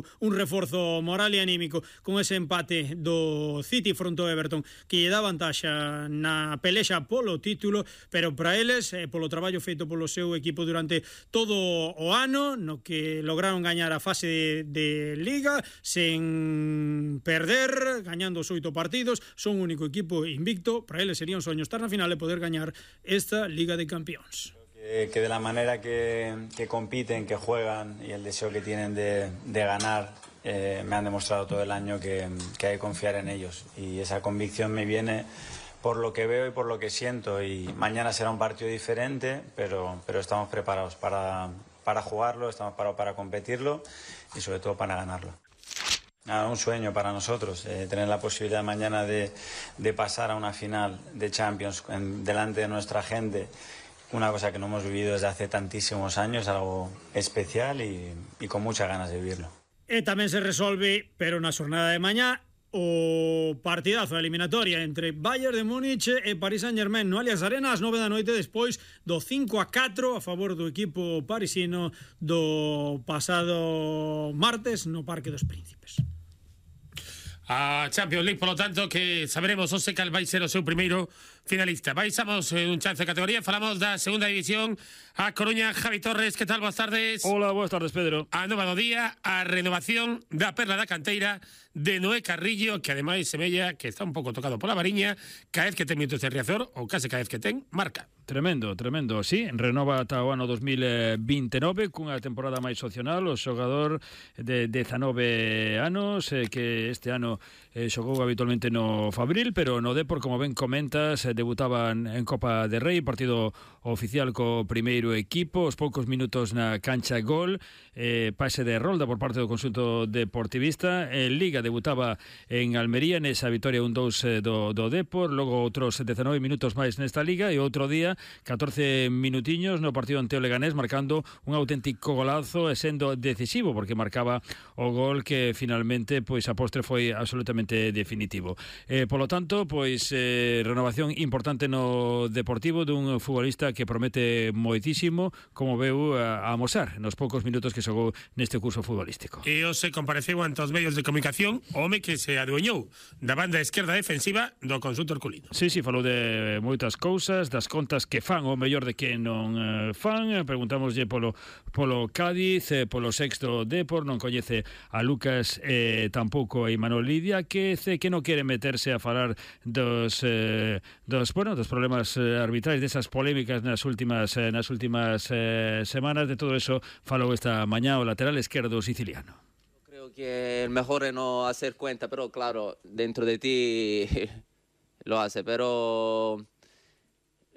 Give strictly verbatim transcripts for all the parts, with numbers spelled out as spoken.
un reforzo moral e anímico con ese empate do City fronte ao Everton que lle dá vantaxa na pelexa polo título, pero para eles eh, polo traballo feito polo seu equipo durante todo o ano no que lograron gañar a fase de, de Liga sen perder, gañando os oito partidos, son o único equipo invicto. Para eles sería un soño estar na final e poder gañar esta Liga de Campións. Que de la manera que, que compiten, que juegan y el deseo que tienen de, de ganar, eh, me han demostrado todo el año que, que hay que confiar en ellos. Y esa convicción me viene por lo que veo y por lo que siento. Y mañana será un partido diferente, pero, pero estamos preparados para, para jugarlo, estamos preparados para competirlo y sobre todo para ganarlo. Nada, un sueño para nosotros, eh, tener la posibilidad mañana de, de pasar a una final de Champions en, delante de nuestra gente. Una cosa que no hemos vivido desde hace tantísimos años, algo especial y, y con muchas ganas de vivirlo. E tamén se resolve, pero na xornada de mañá, o partidazo da eliminatoria entre Bayern de Múnich e Paris Saint-Germain no Allianz Arena ás nove da noite despois do cinco a catro a favor do equipo parisino do pasado martes no Parque dos Príncipes. A Champions League, polo tanto, que saberemos hoxe cal vai ser o seu primeiro finalista. Baixamos eh, un chance de categoría, falamos da segunda división. A Coruña, Javi Torres, que tal? Boas tardes. Hola, boas tardes, Pedro. A nova do día, a renovación da perla da canteira de Noé Carrillo, que ademais semella que está un pouco tocado pola variña, cada vez que ten minutos de Riazor, ou case cada vez que ten, marca. Tremendo, tremendo, sí, renova ata o ano dos mil vintenove cunha temporada máis opcional. O xogador de dezanove anos eh, que este ano eh, xogou habitualmente no Fabril, pero no Depor, como ben comentas, eh, debutaban en Copa de Rei, partido oficial co primeiro equipo, os poucos minutos na cancha gol, eh, pase de rolda por parte do conxunto deportivista. En Liga debutaba en Almería nesa vitoria un dous do, do Depor, logo outros dezanove minutos máis nesta Liga e outro día catorce minutiños no partido ante o Leganés, marcando un auténtico golazo e sendo decisivo porque marcaba o gol que finalmente pois a postre foi absolutamente definitivo. Eh, polo tanto, pois eh, renovación importante no Deportivo dun futbolista que promete moitísimo, como veu a, a amosar nos poucos minutos que xogou neste curso futbolístico. E hoxe compareceu ante os medios de comunicación o home que se adueñou da banda esquerda defensiva do conxunto herculino. Sí, sí, falou de moitas cousas, das contas que fan o mellor de que non eh, fan. Preguntámoslle polo, polo Cádiz, eh, polo sexto Depor, non coñece a Lucas eh, tampouco a Imanol Lidia, que ce, que non quere meterse a falar dos eh, dos, bueno, dos problemas eh, arbitrais, desas polémicas nas últimas eh, nas últimas eh, semanas. De todo eso falou esta mañá o lateral esquerdo siciliano. Creo que el mejor es no hacer cuenta, pero claro, dentro de ti lo hace, pero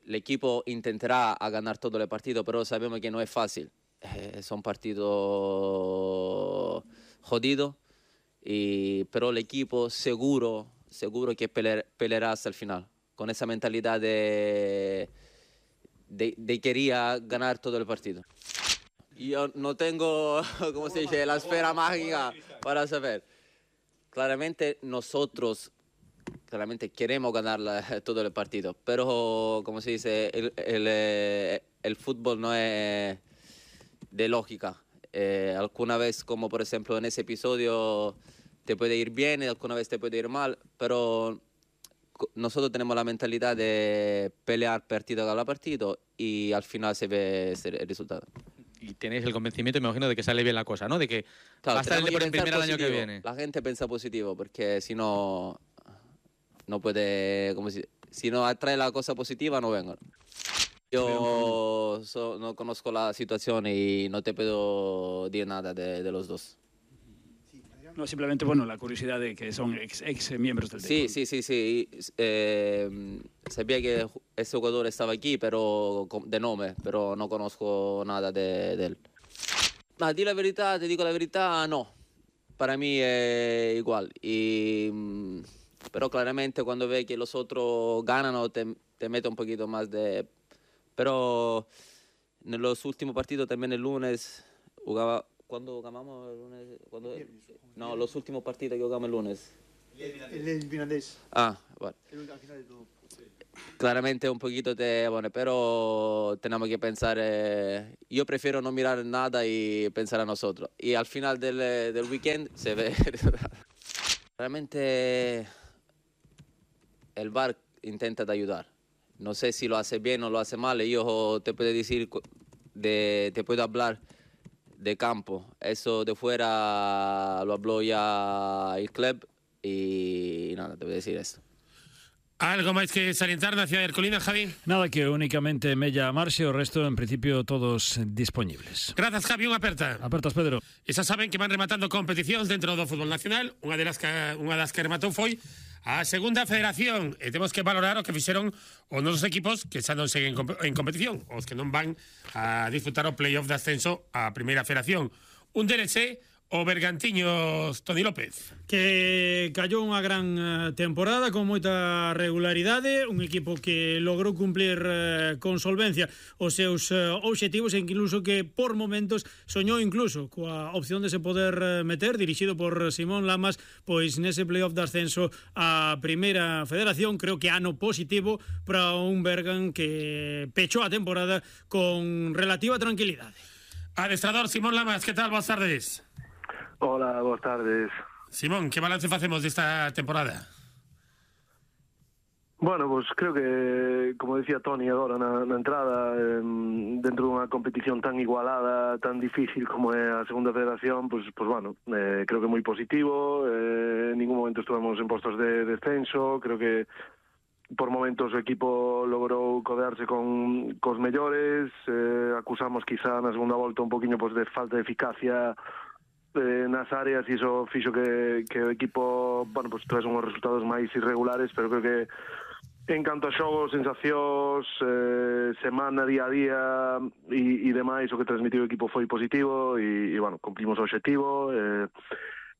el equipo intentará a ganar todo el partido, pero sabemos que no es fácil. Eh, son partidos jodidos, y, pero el equipo seguro, seguro que pelear, peleará hasta el final, con esa mentalidad de, de, de quería ganar todo el partido. Yo no tengo, ¿cómo se dice?, la esfera mágica para saber. Claramente nosotros claramente queremos ganar la, todo el partido, pero como se dice, el, el, el fútbol no es de lógica. Eh, alguna vez, como por ejemplo en ese episodio, te puede ir bien y alguna vez te puede ir mal, pero nosotros tenemos la mentalidad de pelear partido a partido y al final se ve el resultado. Y tenéis el convencimiento, me imagino, de que sale bien la cosa, ¿no? De que claro, va a estar el Depor en primera el año que viene. La gente piensa positivo, porque si no, no puede, como si, si no atrae la cosa positiva, no vengan. Yo so, no conozco la situación y no te puedo decir nada de, de los dos. No, simplemente, bueno, la curiosidad de que son ex, ex miembros del Sí, sí, sí, sí. Eh, sabía que ese jugador estaba aquí, pero de nombre, pero no conozco nada de, de él. Ma di la verità, te dico la verità, no. Para mí es igual. Y, pero claramente cuando ve que los otros ganan, te, te mete un poquito más de... Pero en los últimos partidos, también el lunes, jugaba... ¿Cuándo ganamos el lunes? ¿Cuándo? No, los últimos partidos que jugamos el lunes. El finlandés. Ah, bueno. Claramente un poquito de, bueno, pero tenemos que pensar, eh, yo prefiero no mirar nada y pensar a nosotros. Y al final del, del weekend se ve, realmente el V A R intenta de ayudar. No sé si lo hace bien o lo hace mal, yo te puedo decir, de, te puedo hablar de campo. Eso de fuera lo habló ya el club y nada, te voy a decir esto. Algo máis que salientar na cidade de Ercolina, Javi? Nada, que únicamente Mella Marxe, o resto en principio todos disponibles. Grazas, Javi, unha aperta. Apertas, Pedro. E xa saben que van rematando competicións dentro do fútbol nacional. Unha das que, unha das que rematou foi a segunda federación. E temos que valorar o que fixeron os nosos equipos que xa non seguen en competición, os que non van a disfrutar o playoff de ascenso á primeira federación. Un D L C o Bergantiños, Toni López. Que callou unha gran temporada con moita regularidade, un equipo que logrou cumplir eh, con solvencia os seus eh, obxectivos e incluso que por momentos soñou incluso coa opción de se poder eh, meter, dirixido por Simón Lamas, pois nese playoff de ascenso á primeira federación. Creo que ano positivo para un Bergan que pechou a temporada con relativa tranquilidade. Adestrador Simón Lamas, que tal? Boas tardes. Hola, boas tardes. Simón, que balance facemos desta temporada? Bueno, pues creo que, como decía Toni agora na, na entrada, eh, dentro dunha competición tan igualada, tan difícil como é a segunda federación, pues, pues bueno, eh, creo que moi positivo, eh, en ningún momento estuvemos en postos de descenso, creo que por momentos o equipo logrou codearse con cos mellores, eh, acusamos quizá na segunda volta un poquinho pues, de falta de eficacia eh, nas áreas e iso fixo que, que o equipo, bueno, pues traes unhos resultados máis irregulares, pero creo que en canto a xogos, sensacións, eh, semana, día a día e, e demais, o que transmitiu o equipo foi positivo e, e bueno, cumplimos o objetivo eh,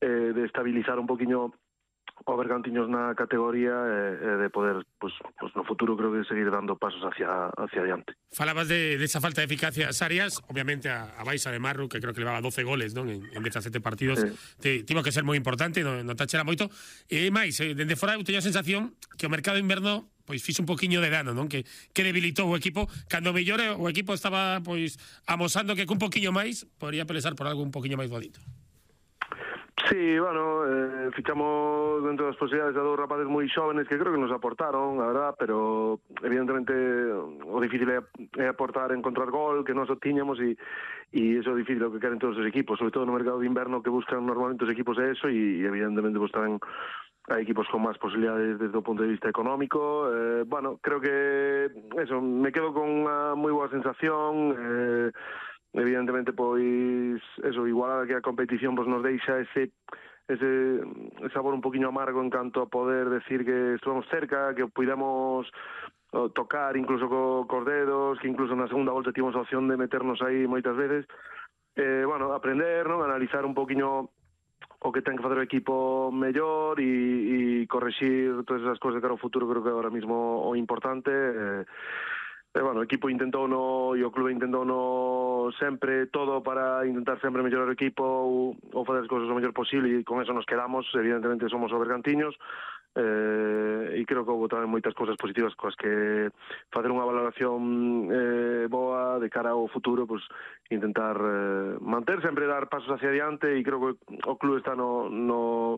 eh, de estabilizar un poquinho o Bergantiños na categoría e eh, de poder, pues, pues no futuro creo que seguir dando pasos hacia hacia adiante. Falabas de, de esa falta de eficacia as áreas, obviamente a, a Baixa de Marru, que creo que levaba doce goles, non, en, en dezasete partidos, sí. te, tivo que ser moi importante, non, non tachera moito. E máis, eh, dende fora eu teño a sensación que o mercado inverno pois fixo un poquiño de dano, non? Que, que debilitou o equipo, cando mellor o equipo estaba pois amosando que cun poquiño máis podría pelesar por algo un poquiño máis bonito. Sí, bueno, eh, fichamos dentro das posibilidades a dous rapaces moi xóvenes que creo que nos aportaron, a verdad, pero evidentemente o difícil é, é aportar, encontrar gol, que nós o tiñamos e, e eso é difícil o que queren todos os equipos, sobre todo no mercado de inverno que buscan normalmente os equipos de eso e, e evidentemente pues tamén hai equipos con máis posibilidades desde o punto de vista económico. Eh, bueno, creo que eso, me quedo con unha moi boa sensación, eh, evidentemente pois eso, igual que a competición pues nos deixa ese ese sabor un poquinho amargo en canto a poder decir que estuvemos cerca, que puidamos tocar incluso co, cos dedos, que incluso na segunda volta tivemos a opción de meternos aí moitas veces. Eh, bueno, aprender, non, analizar un poquinho o que ten que facer o equipo mellor e, e correxir todas esas cousas de cara ao futuro. Creo que agora mismo o importante eh, E, bueno, o equipo intentou no, e o clube intentou no sempre todo para intentar sempre mellorar o equipo ou, ou fazer as cousas o mellor posible e con eso nos quedamos, evidentemente somos o Bergantiños eh, e creo que houve tamén moitas cousas positivas coas que facer unha valoración eh, boa de cara ao futuro, pues, intentar eh, manter, sempre dar pasos hacia adiante e creo que o clube está no... no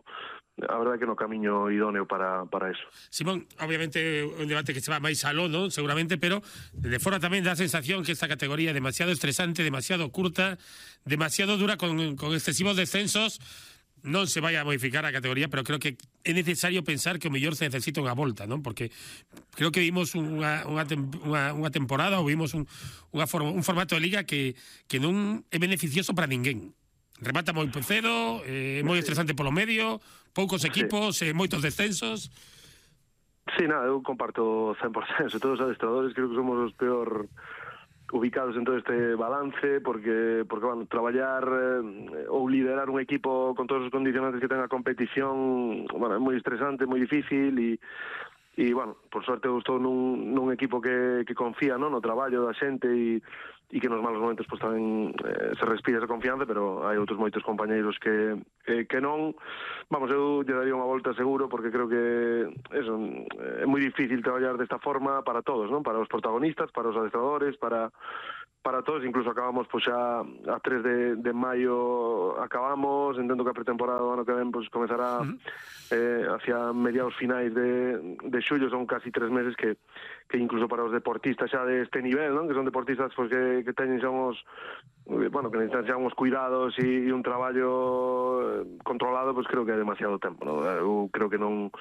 a verdade que no camiño idóneo para, para eso. Simón, obviamente un debate que se va máis aló, ¿no? Seguramente, pero de fora tamén dá a sensación que esta categoría é demasiado estresante, demasiado curta, demasiado dura con, con excesivos descensos. Non se vai a modificar a categoría, pero creo que é necesario pensar que o mellor se necesita unha volta, ¿no? Porque creo que vimos unha, unha, unha, unha temporada ou vimos un, unha forma, un formato de liga que, que non é beneficioso para ninguén. Remata moi cedo, é eh, moi estresante polo medio, poucos equipos, sí. eh, moitos descensos. Sí, nada, eu comparto cen por cento. Todos os adestradores creo que somos os peor ubicados en todo este balance, porque, porque bueno, traballar eh, ou liderar un equipo con todos os condicionantes que ten a competición, bueno, é moi estresante, moi difícil e e, bueno, por sorte eu estou nun, nun equipo que, que confía, non, no traballo da xente e e que nos malos momentos pues, tamén eh, se respira esa confianza, pero hai outros moitos compañeiros que, que, que non. Vamos, eu lle daría unha volta seguro, porque creo que eso, é moi difícil traballar desta forma para todos, non? Para os protagonistas, para os adestradores, para para todos, incluso acabamos pues, xa a tres de, de maio acabamos, entendo que a pretemporada do ano que ven pues, comezará uh-huh. eh, hacia mediados finais de, de xullo, son casi tres meses que, que incluso para os deportistas xa de este nivel, non? Que son deportistas pues, que, que teñen xa uns, bueno, que necesitan xa uns cuidados e, e un traballo controlado, pues creo que é demasiado tempo, non? Eu creo que non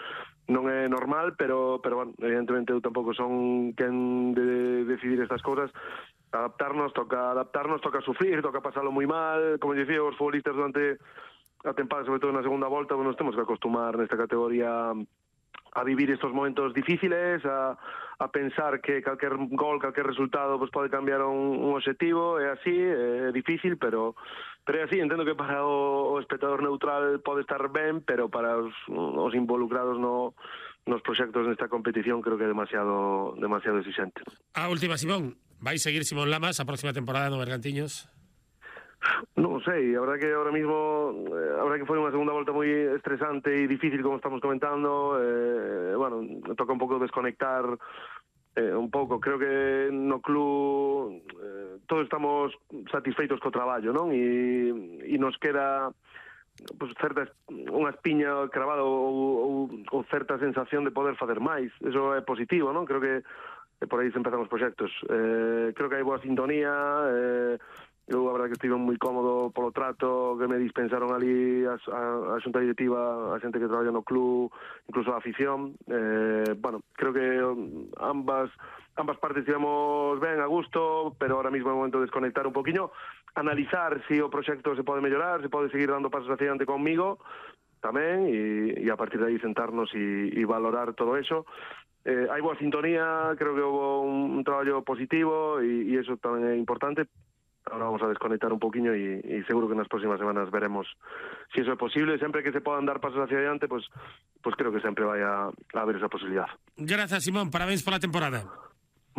non é normal, pero, pero bueno, evidentemente eu tampouco son quen de decidir estas cousas. Adaptarnos, toca adaptarnos, toca sufrir, toca pasarlo moi mal, como dicía, os futbolistas durante a tempada, sobre todo na segunda volta, pues, nos temos que acostumar nesta categoría a vivir estos momentos difíciles, a, a pensar que calquer gol, calquer resultado pues, pode cambiar un, un objetivo, é así, é difícil, pero pero é así, entendo que para o, o espectador neutral pode estar ben, pero para os, os involucrados no, nos proxectos nesta competición creo que é demasiado demasiado exigente. A última, Simón, vai seguir Simón Lamas a próxima temporada no Bergantiños? Non sei, a verdad que ahora mismo eh, a verdad que foi unha segunda volta moi estresante e difícil, como estamos comentando, eh, bueno, toca un pouco desconectar eh, un pouco, creo que no club eh, todos estamos satisfeitos co traballo, non? E, e nos queda pues, certa, unha espiña cravada ou, ou, ou certa sensación de poder facer máis, eso é positivo, non? Creo que eh, por aí se empezan os proxectos, eh, creo que hai boa sintonía, eh, eu a verdade que estive moi cómodo polo trato que me dispensaron ali a, a, a xunta directiva, a xente que traballa no club, incluso a afición. Eh, bueno, creo que ambas ambas partes estivemos ben, a gusto, pero ahora mismo é o momento de desconectar un poquinho, analizar se si o proxecto se pode mellorar, se pode seguir dando pasos hacia diante conmigo tamén, e, e a partir de aí sentarnos e, e valorar todo eso. Eh, hai boa sintonía, creo que houve un, un traballo positivo e, e eso tamén é importante. Ahora vamos a desconectar un poquinho e, e seguro que nas próximas semanas veremos si eso é posible. Sempre que se podan dar pasos hacia adiante, pues, pues creo que sempre vai a, a haber esa posibilidad. Gracias, Simón. Parabéns pola temporada.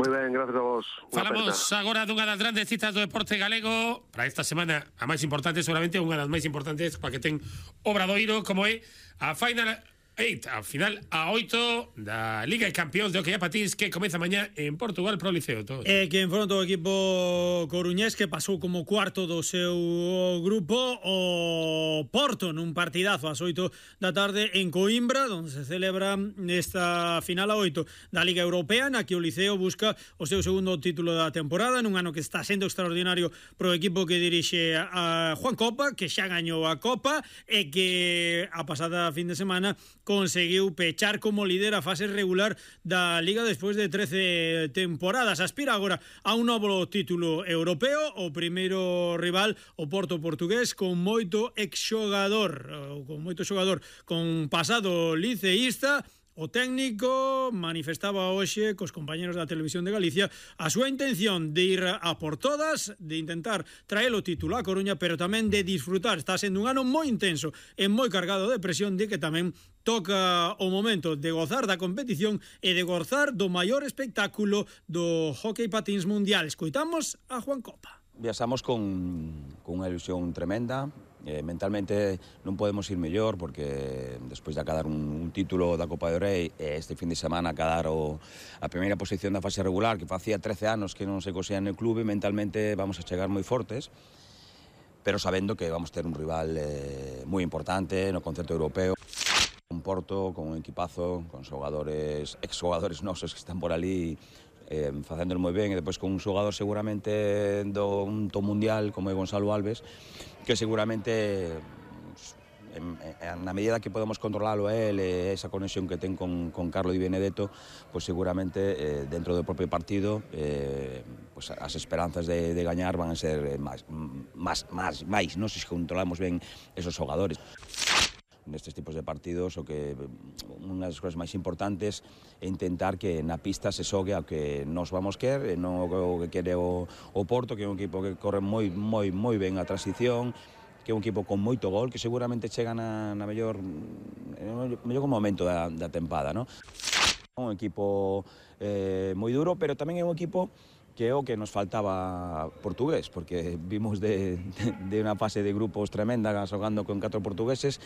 Moi ben, gracias a vos. Falamos agora dunha das grandes citas do deporte galego para esta semana, a máis importante, seguramente unha das máis importantes para que ten Obradoiro, como é a Final oito, a final a oito da Liga de Campeóns de Hockey a Patins, que comeza mañá en Portugal pro Liceo. Todo. E que enfronta o equipo coruñés, que pasou como cuarto do seu grupo o Porto nun partidazo ás oito da tarde en Coimbra, onde se celebra esta final a oito da Liga Europea, na que o Liceo busca o seu segundo título da temporada, nun ano que está sendo extraordinario pro equipo que dirixe a Juan Copa, que xa gañou a Copa e que a pasada fin de semana conseguiu pechar como líder a fase regular da Liga despois de trece temporadas. Aspira agora a un novo título europeo, o primeiro rival, o Porto portugués, con moito exxogador, con moito xogador con pasado liceísta. O técnico manifestaba hoxe cos compañeros da Televisión de Galicia a súa intención de ir a por todas, de intentar traer o título a Coruña, pero tamén de disfrutar. Está sendo un ano moi intenso e moi cargado de presión, de que tamén toca o momento de gozar da competición e de gozar do maior espectáculo do hockey patins mundial. Escoitamos a Juan Copa. Viaxamos con, con unha ilusión tremenda. Eh, mentalmente non podemos ir mellor, porque despois de acadar un, un título da Copa do Rei, eh, este fin de semana acadar o, a primeira posición da fase regular, que facía trece anos que non se cosía no clube, mentalmente vamos a chegar moi fortes, pero sabendo que vamos ter un rival eh, moi importante no concerto europeo, un Porto con un equipazo, con xogadores, ex-xogadores nosos que están por ali eh, facéndolo moi ben, e depois con un xogador seguramente do un top mundial como é Gonzalo Alves, que seguramente en, en, na medida que podemos controlalo a él e esa conexión que ten con, con Carlo Di Benedetto, pues seguramente eh, dentro do propio partido eh, pues as esperanzas de, de gañar van a ser máis, máis, máis, máis, non se controlamos ben esos xogadores. Nestes tipos de partidos, o que unha das cousas máis importantes é intentar que na pista se xogue ao que nos vamos querer, e non o que quere o, o Porto, que é un equipo que corre moi moi moi ben a transición, que é un equipo con moito gol, que seguramente chega na, na mellor no mellor momento da, da tempada, ¿no? Un equipo eh, moi duro, pero tamén é un equipo que o que nos faltaba portugués, porque vimos de, de, de unha fase de grupos tremenda xogando con catro portugueses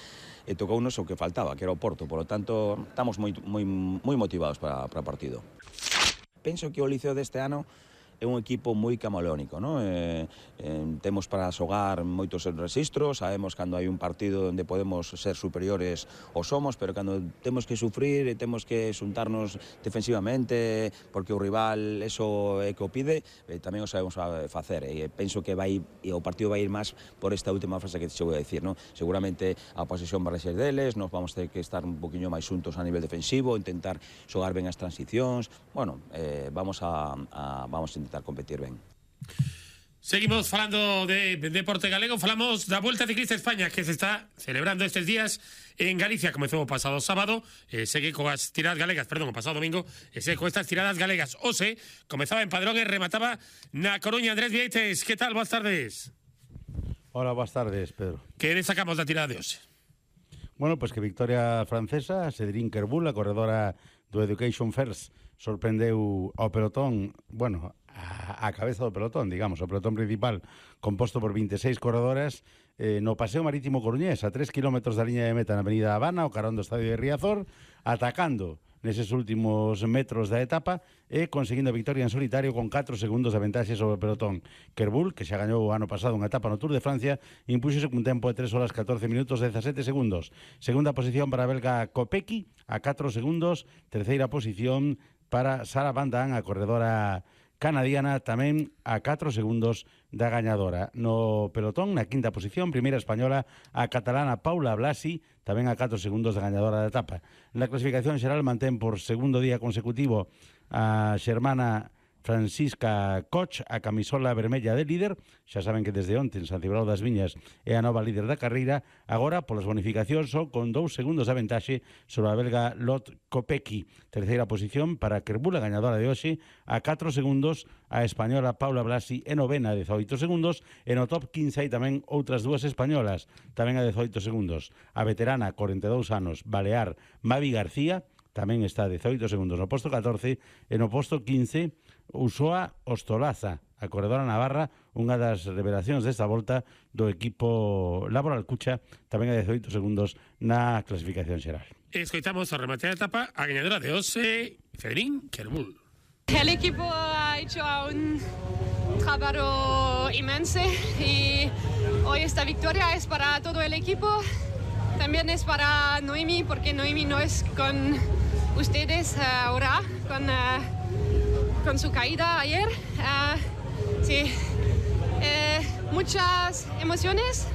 e tocounos o que faltaba, que era o Porto. Por lo tanto, estamos moi, moi, moi motivados para, para o partido. Penso que o Liceo deste ano é un equipo moi camaleónico, ¿no? Eh, eh, temos para xogar moitos registros, sabemos cando hai un partido onde podemos ser superiores ou somos, pero cando temos que sufrir e temos que xuntarnos defensivamente porque o rival eso é que o pide, eh, tamén o sabemos facer, e penso que vai, e o partido vai ir máis por esta última frase que te vou a decir, ¿no? Seguramente a posesión vai ser deles, nos vamos ter que estar un poquinho máis xuntos a nivel defensivo, intentar xogar ben as transicións, bueno, eh, vamos a, a vamos a intentar competir ben. Seguimos falando de deporte galego, falamos da Volta Ciclista España que se está celebrando estes días en Galicia, comezou o pasado sábado, eh, segue coas tiradas galegas, perdón, o pasado domingo, e segue con estas tiradas galegas. Ose, comezaba en Padrón e remataba na Coruña. Andrés Vieites, que tal? Boas tardes. Hola, boas tardes, Pedro. Que destacamos da tirada de Ose? Bueno, pues que victoria francesa, Cédric Kerboul, a corredora do Education First, sorprendeu ao pelotón, bueno, a, a cabeza do pelotón, digamos, o pelotón principal composto por veintiséis corredoras eh, no Paseo Marítimo Coruñés, a tres kilómetros da liña de meta na Avenida Habana, o carón do Estadio de Riazor, atacando neses últimos metros da etapa e conseguindo a victoria en solitario con catro segundos de ventaxe sobre o pelotón. Kerboul, que xa gañou o ano pasado unha etapa no Tour de Francia, impúxose cun tempo de tres horas catorce minutos e dezasete segundos. Segunda posición para a belga Kopecky, a catro segundos. Terceira posición para Sara Van Daan, a corredora canadiana, tamén a catro segundos da gañadora. No pelotón, na quinta posición, primeira española, a catalana Paula Blasi, tamén a catro segundos da gañadora da etapa. Na clasificación xeral mantén por segundo día consecutivo a xermana Francisca Koch, a camisola vermella de líder. Xa saben que desde onte en San Cibrao das Viñas é a nova líder da carreira. Agora, polas bonificacións, só con dous segundos de ventaxe sobre a belga Lot Kopecky. Terceira posición para Kerboul, a gañadora de hoxe, a catro segundos. A española Paula Blasi é novena, a dezoito segundos. E no top quince hai tamén outras dúas españolas, tamén a dezoito segundos. A veterana, corenta e dous anos, balear Mavi García, tamén está a dezoito segundos no posto catorce. E no posto quince, Usoa Ostolaza, a corredora navarra, unha das revelacións desta volta do equipo Laboral Cucha, tamén a dezoito segundos na clasificación xeral. Escoitamos a remate da etapa a gañadora de Ose, Cédric Kerboul. El equipo ha hecho un trabajo inmenso y hoy esta victoria es para todo el equipo. También es para Noemi, porque Noemi no es con ustedes ahora, con... Uh, con su caída ayer. Uh, sí, eh, muchas emociones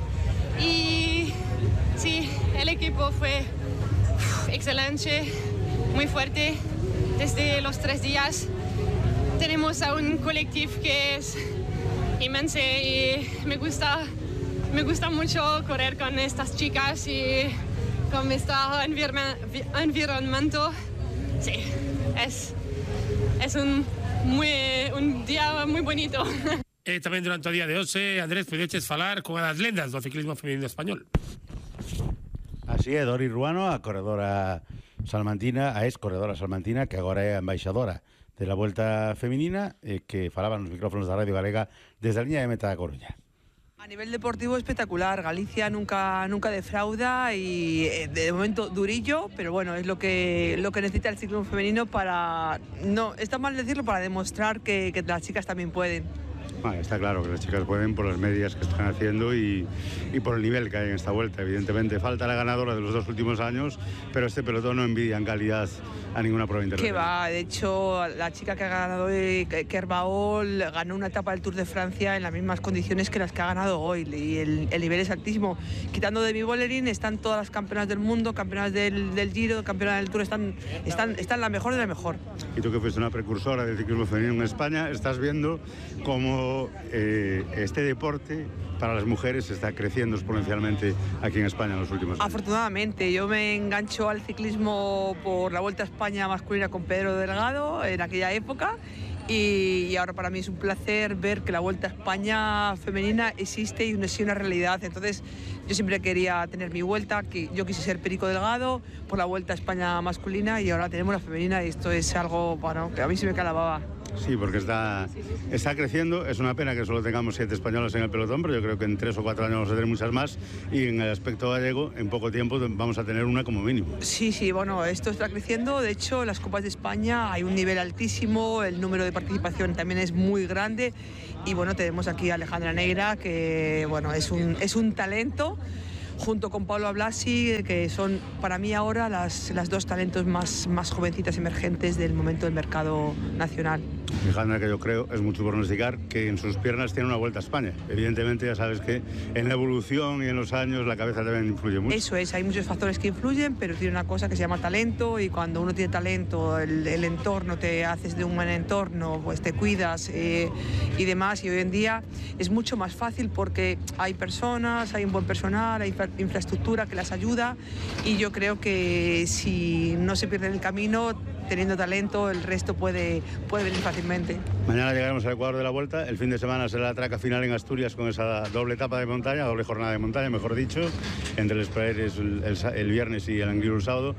y sí, el equipo fue uf, excelente, muy fuerte desde los tres días. Tenemos a un colectivo que es inmenso y me gusta, me gusta mucho correr con estas chicas y con este environamiento. Sí, es, es un Muy, un día muy bonito. E tamén durante o día de hoxe, Andrés, podeches falar con as lendas do ciclismo feminino español. Así é, Dori Ruano, a corredora salmantina, a ex corredora salmantina, que agora é a embaixadora de la Vuelta Feminina, e que falaba nos micrófonos da Radio Galega desde a liña de meta da Coruña. A nivel deportivo espectacular, Galicia nunca nunca defrauda y de momento durillo, pero bueno, es lo que lo que necesita el ciclismo femenino para, no, está mal decirlo, para demostrar que, que las chicas también pueden. Ah, está claro que las chicas pueden por las medias que están haciendo y, y por el nivel que hay en esta vuelta. Evidentemente falta la ganadora de los dos últimos años, pero este pelotón no envidia en calidad a ninguna prueba internacional. Que va, de hecho la chica que ha ganado hoy, Kerboul, ganó una etapa del Tour de Francia en las mismas condiciones que las que ha ganado hoy y el, el nivel es altísimo. Quitando Demi Vollering están todas las campeonas del mundo, campeonas del, del Giro, campeonas del Tour, están, están, están la mejor de la mejor. Y tú que fuiste una precursora del ciclismo femenino en España, estás viendo cómo Eh, este deporte para las mujeres está creciendo exponencialmente aquí en España en los últimos años. Afortunadamente, yo me engancho al ciclismo por la Vuelta a España masculina con Pedro Delgado en aquella época y, y ahora para mí es un placer ver que la Vuelta a España femenina existe y es una realidad. Entonces yo siempre quería tener mi vuelta, que yo quise ser Perico Delgado por la Vuelta a España masculina y ahora tenemos la femenina y esto es algo, bueno, que a mí se me calababa. Sí, porque está, está creciendo. Es una pena que solo tengamos siete españolas en el pelotón, pero yo creo que en tres o cuatro años vamos a tener muchas más, y en el aspecto gallego, en poco tiempo vamos a tener una como mínimo. Sí, sí, bueno, esto está creciendo. De hecho, las Copas de España hay un nivel altísimo, el número de participación también es muy grande, y bueno, tenemos aquí a Alejandra Negra, que bueno, es un, es un talento, junto con Paula Blasi, que son para mí ahora las, las dos talentos más, más jovencitas emergentes del momento del mercado nacional. Alejandra, que yo creo, es mucho pronosticar que en sus piernas tiene una vuelta a España. Evidentemente, ya sabes que en la evolución y en los años la cabeza también influye mucho. Eso es, hay muchos factores que influyen, pero tiene una cosa que se llama talento, y cuando uno tiene talento, el, el entorno, te haces de un buen entorno, pues te cuidas eh, y demás, y hoy en día es mucho más fácil porque hay personas, hay un buen personal, hay infraestructura que las ayuda, y yo creo que si no se pierde el camino, teniendo talento, el resto puede, puede venir fácilmente. Mañana llegaremos al Ecuador de la Vuelta. El fin de semana será la traca final en Asturias, con esa doble etapa de montaña, doble jornada de montaña, mejor dicho, entre los Praeres el, el, el viernes y el Angliru el sábado.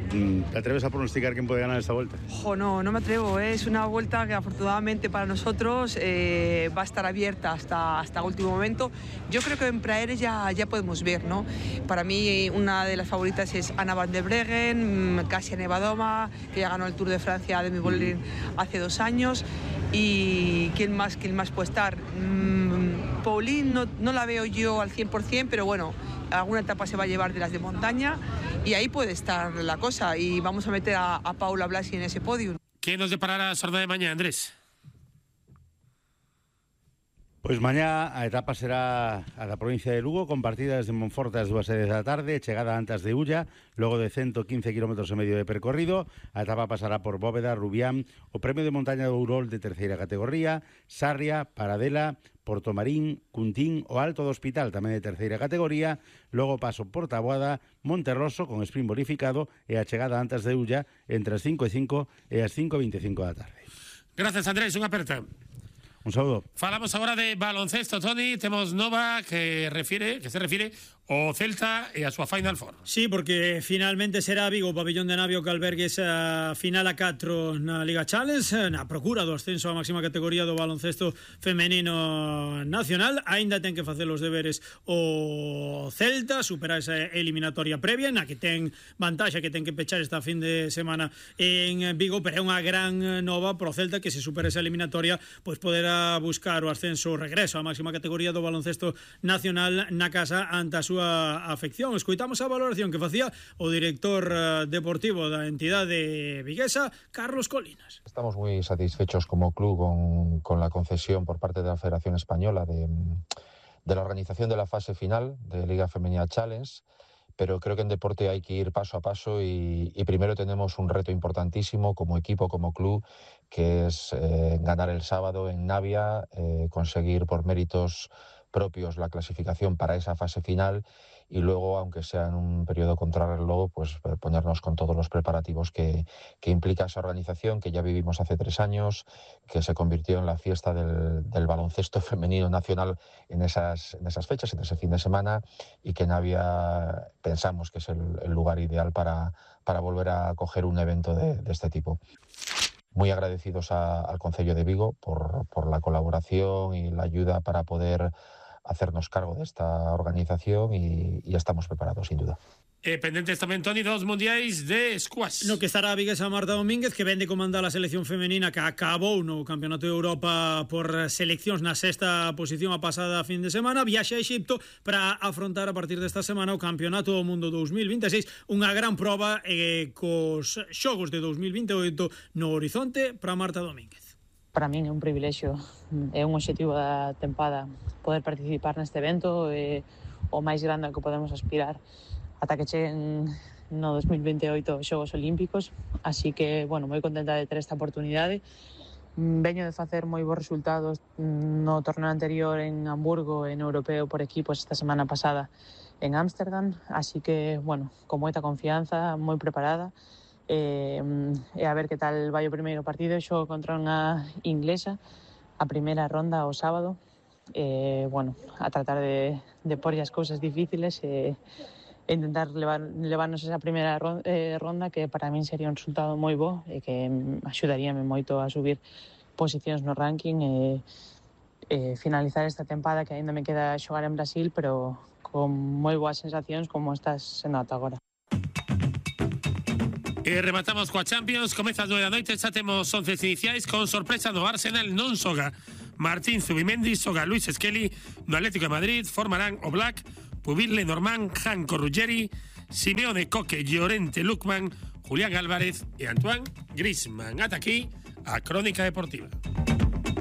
¿Te atreves a pronosticar quién puede ganar esta vuelta? Jo, no, no me atrevo. ¿eh? Es una vuelta que afortunadamente para nosotros eh, va a estar abierta hasta, hasta último momento. Yo creo que en Praeres ya, ya podemos ver, ¿no? Para mí una de las favoritas es Anna van der Breggen, Kasia Nevadoma, que ya ganó el Tour de Francia de Demi-Vollering hace dos años. Y ¿quién más, quién más puede estar? Mm, Pauline no, no la veo yo al cien por cien, pero bueno, alguna etapa se va a llevar de las de montaña, y ahí puede estar la cosa, y vamos a meter a, a Paula Blasi en ese podio. ¿Qué nos deparará a sorda de mañana, Andrés? Pois mañá a etapa será a da provincia de Lugo, con partidas de Monforte ás dúas e dez da tarde, chegada antes de Ulla, logo de ciento quince kilómetros e medio de percorrido. A etapa pasará por Bóveda, Rubián, o Premio de Montaña do Ourol de terceira categoría, Sarria, Paradela, Portomarín, Cuntín o Alto do Hospital, tamén de terceira categoría, logo paso por Taboada, Monterroso con sprint bonificado, e a chegada antes de Ulla entre as cinco e cinco e as cinco e veinticinco da tarde. Gracias, Andrés, unha aperta. Un saludo. Falamos agora de baloncesto, Toni. Temos nova que refire, que se refire ao Celta e a súa Final Four. Sí, porque finalmente será Vigo o pabellón de Navio que albergue esa final a catro na Liga Challenge, na procura do ascenso á máxima categoría do baloncesto femenino nacional. Aínda ten que facer os deberes o Celta, superar esa eliminatoria previa, na que ten vantaxe, que ten que pechar esta fin de semana en Vigo, pero é unha gran nova pro Celta que se supera esa eliminatoria, pois poderá buscar o ascenso, o regreso á máxima categoría do baloncesto nacional na casa ante a súa afección. Escoitamos a valoración que facía o director deportivo da entidade viguesa, Carlos Colinas. Estamos muy satisfechos como club con, con la concesión por parte de la Federación Española de, de la organización de la fase final de Liga Femenina Challenge, pero creo que en deporte hay que ir paso a paso y, y primero tenemos un reto importantísimo como equipo, como club, que es eh, ganar el sábado en Navia, eh, conseguir por méritos propios la clasificación para esa fase final, y luego, aunque sea en un periodo contrarreloj, pues ponernos con todos los preparativos que, que implica esa organización, que ya vivimos hace tres años, que se convirtió en la fiesta del, del baloncesto femenino nacional en esas, en esas fechas, en ese fin de semana, y que Navia pensamos que es el, el lugar ideal para, para volver a acoger un evento de, de este tipo. Muy agradecidos a, al Concello de Vigo por, por la colaboración y la ayuda para poder hacernos cargo de esta organización, y, y estamos preparados, sin duda. Eh, pendentes tamén, Toni, dos mundiais de squash. No que estará a viguesa Marta Domínguez, que vende comandar a selección femenina que acabou no Campeonato de Europa por seleccións na sexta posición a pasada fin de semana. Viaxe a Exipto para afrontar a partir desta semana o Campeonato do Mundo dous mil vinte e seis, unha gran proba eh, cos xogos de dous mil vinte e oito no horizonte para Marta Domínguez. Para min é un privilexio, é un obxectivo da tempada poder participar neste evento, é o máis grande ao que podemos aspirar ata que cheguen no dous mil vinte e oito os Xogos Olímpicos, así que, bueno, moi contenta de ter esta oportunidade. Veño de facer moi bons resultados no torneo anterior en Hamburgo, en europeo por equipos esta semana pasada en Ámsterdam, así que, bueno, con moita confianza, moi preparada, e, e a ver que tal vai o primeiro partido. Xogo contra unha inglesa a primeira ronda o sábado, e, bueno, a tratar de, de porlle as cousas difíciles e, e intentar levar, levarnos esa primeira ronda, eh, ronda, que para min sería un resultado moi bo e que axudaríame moito a subir posicións no ranking e, e finalizar esta tempada que aínda me queda xogar en Brasil, pero con moi boas sensacións como estás sendo ata agora. E rematamos coa Champions, comeza as nove da noite, xa temos once iniciais con sorpresa no Arsenal, non xoga Martín Zubimendi, xoga Luis Skelly, no Atlético de Madrid formarán o Black, Pubil Lenormand, Janko Ruggeri, Simeone, Coque, Llorente, Lukman, Julián Álvarez e Antoine Griezmann. Ata aquí a Crónica Deportiva.